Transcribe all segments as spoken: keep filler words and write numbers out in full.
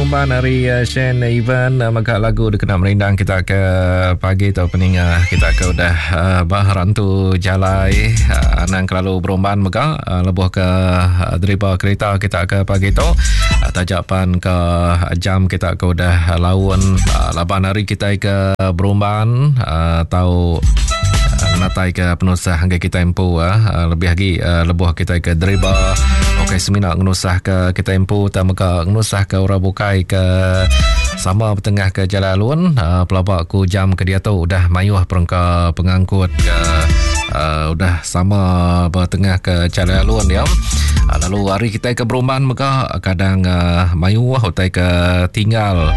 Berumban ari uh, Shane Ivan uh, mega lagu dikena merindang kita ke pagi tu peninga kita ke udah uh, bah rantu jalai uh, anang kelalu berumban mega uh, lebuh ke uh, deriba kereta kita ke pagi tu uh, tajapan ke jam kita ke udah laun uh, laban hari kita ke berumban uh, tau natai ke penusah hingga kita empu uh, lebih lagi uh, lebuh kita ke deriba okey semina ngenusah ke kita empu tak mega ngenusah ke orang bukai ke sama bertengah ke jalan alun uh, pelabak ku jam ke dia tu udah mayuh perengka pengangkut ke uh, udah sama bertengah ke jalan alun ya. Uh, lalu hari kita ke berumban mega kadang uh, mayuh utai ke tinggal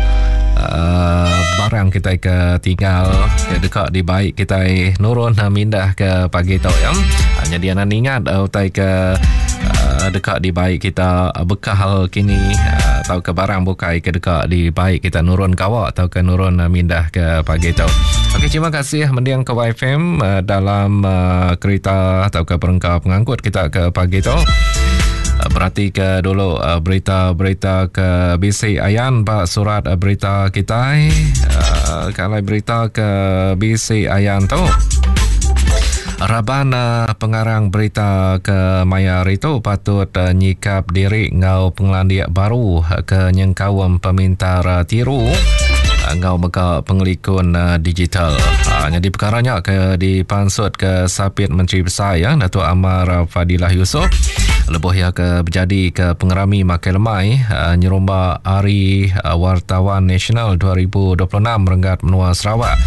Uh, barang kita ke tinggal ke dekat di baik kita nurun uh, mindah ke pagi tu ya. Hanya dia nak ingat uh, utai ke uh, dekat di baik kita uh, bekal kini uh, atau ke barang bukai ke dekat di baik kita nurun kawak atau ke nurun uh, mindah ke pagi tu. Okey, terima kasih mendiang ke Y F M uh, dalam uh, kereta atau ke perengka pengangkut kita ke pagi tu. Berarti ke dulu berita-berita ke B C Ayan bak surat berita kita uh, kalau berita ke B C Ayan tu Raban uh, pengarang berita ke mayar itu patut uh, nyikap diri ngau pengelandiak baru ke nyengkawam pemintar uh, tiru ngau mega pengelikun uh, digital. Uh, jadi perkaranya ke dipansut ke Sapit Menteri Besar ya Datuk Amar Fadilah Yusof lebuh ya ke berjadi ke pengerami makai lemai uh, nyerumba Hari uh, Wartawan Nasional dua ribu dua puluh enam Renggat Menua Sarawak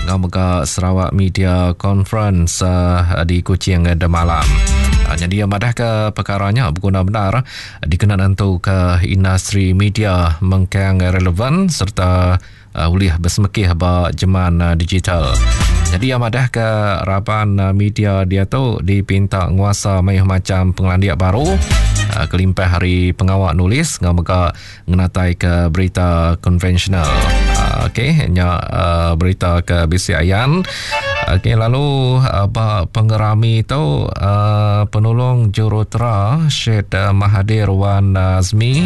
ngau mega Sarawak Media Conference uh, di Kuching uh, demalam. Uh, jadi madah ke perkaranya berguna benar dikena nentu ke industri media mengkang relevan serta uh, ulih bersemekih ba jeman uh, digital. Jadi yang madah ke raban uh, media dia tu dipinta nguasa mayuh macam pengelandiak baru uh, kelimpah hari pengawak nulis ngau mega ngenatai ke berita konvensional. Uh, okey nya uh, berita ke B C Ayan. Okey lalu uh, ba pengerami tu uh, penolong jurutera Syed uh, Mahathir Wan Azmi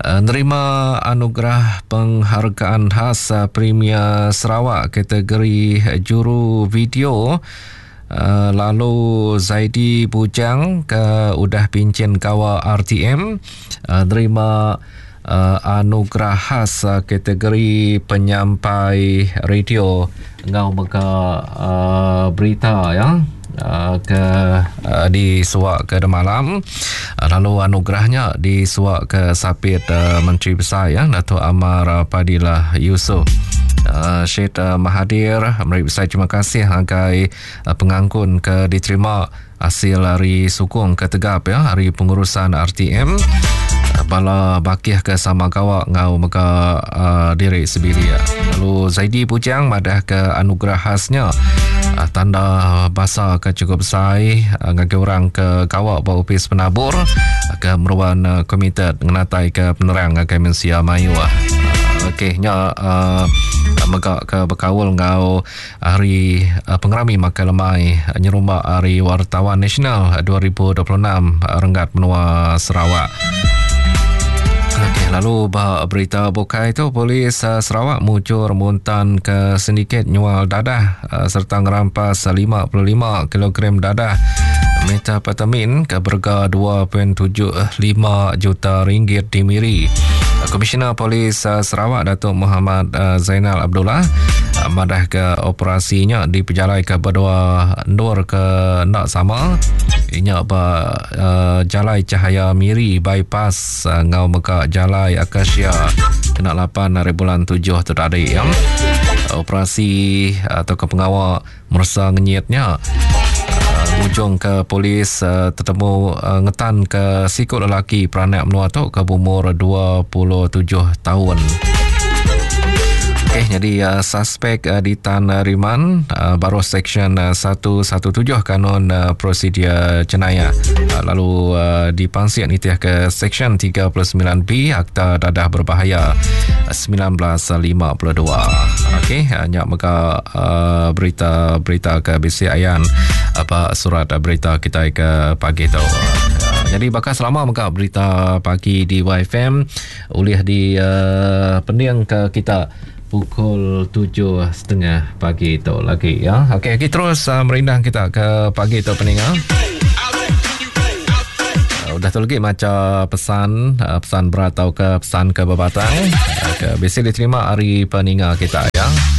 nerima anugerah penghargaan khas Premier Sarawak kategori juru video. Lalu Zaidi Bujang ke udah pincin kawa R T M nerima anugerah khas kategori penyampai radio ngau mega berita ya ke uh, disuak ke demalam. Lalu anugerahnya disuak ke Sapit uh, Menteri Besar ya Datuk Amar Fadilah Yusof. Uh, Syed uh, Mahathir meri besar terima kasih agai uh, pengangkun ke diterima hasil hari sukung ke tegap ya hari pengurusan R T M bala bakih ke sama gawak ngau mega uh, diri sebili ya. Lalu Zaidi Pujang madah ke anugerah khasnya uh, tanda basa ke cukup besar uh, ngagi orang ke gawak ba upis penabur uh, ke meruan uh, komited ngenatai ke penerang ngagai mensia mayu. Uh, okey nya uh, mega ke berkaul ngau hari uh, pengerami makai lemai uh, nyerumba Hari Wartawan Nasional dua ribu dua puluh enam uh, Renggat Menua Sarawak. Okey, lalu bah berita bukai tu polis uh, Sarawak mujur muntan ke sindiket nyual dadah uh, serta ngerampas lima puluh lima kilogram dadah metafetamin ke berga dua perpuluhan tujuh lima juta ringgit di Miri. Komisioner Polis uh, Sarawak Datuk Muhammad uh, Zainal Abdullah uh, madah ke operasinya dipejalai ke berdua ndur ke nak sama inya ba uh, Jalai Cahaya Miri bypass uh, ngau mega Jalai Akasia kena lapan hari bulan tujuh tu tadi ya. Operasi atau ke pengawal mersa ngenyitnya ujung ke polis uh, tertemu uh, ngetan ke sikut lelaki peranak menua tu ke umur dua puluh tujuh tahun. Okey, jadi uh, suspek uh, di Tan Riman uh, baru seksyen uh, seratus tujuh belas Kanun uh, Prosedur Jenayah. Uh, lalu uh, dipansik nitih ke seksyen tiga puluh sembilan B Akta Dadah Berbahaya sembilan belas lima puluh dua. Okey, hanya mega uh, berita-berita ke B C Ayan apa surat berita kita ke pagi tu. Jadi baka selama mega berita pagi di Y F M ulih di uh, pending ke kita pukul tujuh setengah pagi tu lagi ya. Okey, kita terus uh, merindang kita ke pagi tu peninga. Uh, udah tu lagi maca pesan, uh, pesan berat atau ke pesan ke berbatang uh, ke biasa diterima hari peninga kita ya.